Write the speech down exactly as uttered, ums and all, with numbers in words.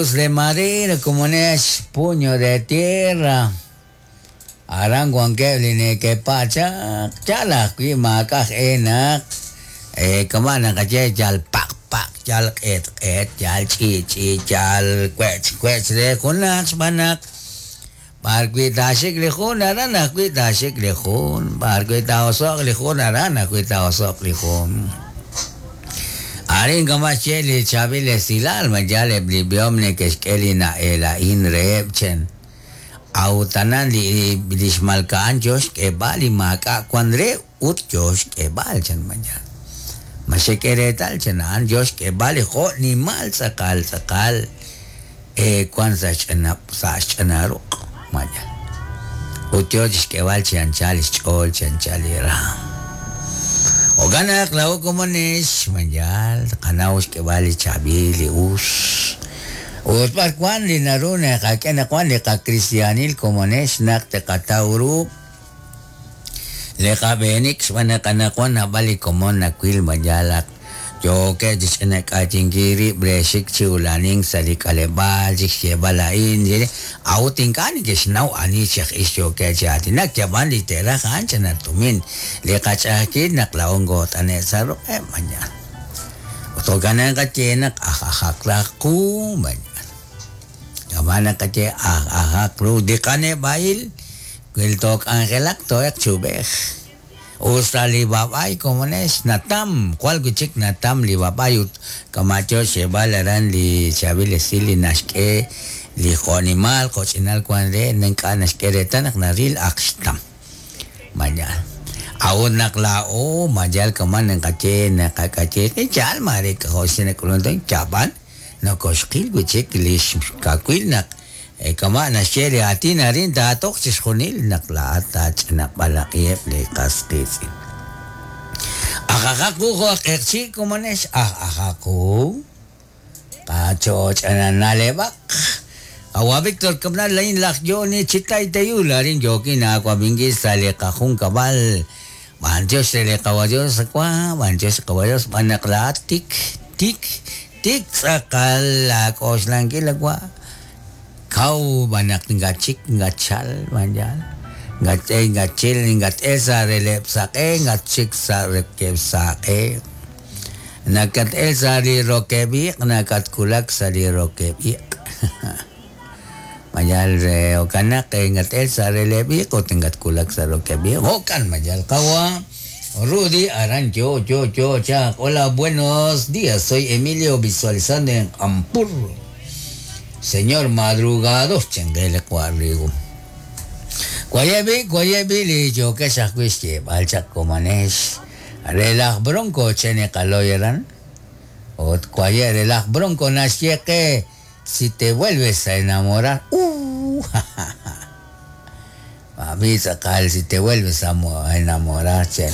De madera como es puño de tierra. Aran wankeb li neke'pachaq yal ajwi' maak'a' enak kama' naqaye yal paq paq yal q'eet q'eet yal ch'i ch'i yal wech wech re junaq xb'aan naq b'arwi' taaxik li jun aran ajwi' taaxik li jun b'arwi' taa'oso'q li jun aran ajwi' taa'oso'q li jun. Arin kama' xye li chaab'il esilal mayal eb' li b'ihom neke'xk'e li na'ela'in reheb' chen awtanan li li xmalka'an yo xk'eeb'al li maak'a' wan re ut yo xk'eeb'al chen mayal ma xek'e reetal chen a'an yo xk'eeb'al li jo' nimal tz'aqal tz'aqal e wan sa' xch'ina sa' xch'ina ruq' mayal ut yo chixk'eeb'al chi anchal xch'ool chi anchal li raam. Jo'kan naq laa'o komonex mayal qanaw xk'eeb'al li chaab'il li us ut b'ar wan li naru naqak'e naq wan li qakristianil komonex naq teqataw ru li qab'eenik xb'aan naq anaqwan naab'al li komon nawil mayal ak yookeb' chixch'inak'achinkil rib' re xik chi ulanink sa' li k'aleb'aal chik xyeeb'al a'in a'ut ink'a' neke'xnaw ani chi aj ix yookeb' chi aatinak yab'an li te'raj a'an chana tumin li qach'a'ajkil naq laa'o ngoot'ane' sa' ruq'eb' mayal ut jo'kan naqaye naq aj ajaq raj qu mayal yab'an naqaye aj ajaq ru li qaneb'a'il wil took'anjelaq to'eq chub'ej. Usta li bab'ay komonex natam jwal wi' chik natam li bab'ay ut kama' yo xyeeb'al aran li chaab'il esil li naxk'e li jo'nimal jo'ch'inal wan re ink'a' naxk'e reetal naq naril ak xtam mayal a'ut naq laa'o mayal kama' naqaye naqak'aye yaal mare jo' xinak'ulunk yab'an nokoxqil wi' chik li xkawil naq kama' naxye li aatin arin taatoq chixjunil naq laa'at taach'inab'alaqiheb' li qas qiitz'in. Aj ajaq qu jo' aj q'eqchi' komonex aj ajaq qu qachoch'ananaleb'aq Awa Víctor Cabral lain laj Yoni Chitay Teyul arin yokin aawab'inkil sa' li qajunkab'al b'antiox re li qawadios wa b'antiox qawadios b'an naq laa'at tik tik tik tz'aqal laak'oxlankil wa kaw b'anaq ngachik ngachal mayal ngate ngachil ngat'el sa' releb' saq'e ngachik sa' rekeb' saq'e nakat'el sa' li rokeb' iq' nakatkulak sa' li rokeb' iq' mayal re jo'kan naq ngat'el sa' releb' iq' ut ngatkulak sa' rokeb' iq' jo'kan mayal qawa Rudy aran yo yo yo chaq. Hola, buenos días, soy Emilio visualizando en Ampur. Señor madrugados chengele cuarrigo. Guayebi, guayebi li yo que xajwix xyeeb'al chaq komonex relaj bronco chene qaloyeran ot guaye relaj bronco naxye qe si te vuelves a enamorar uh mami tz'aqal si te vuelves a enamorar chen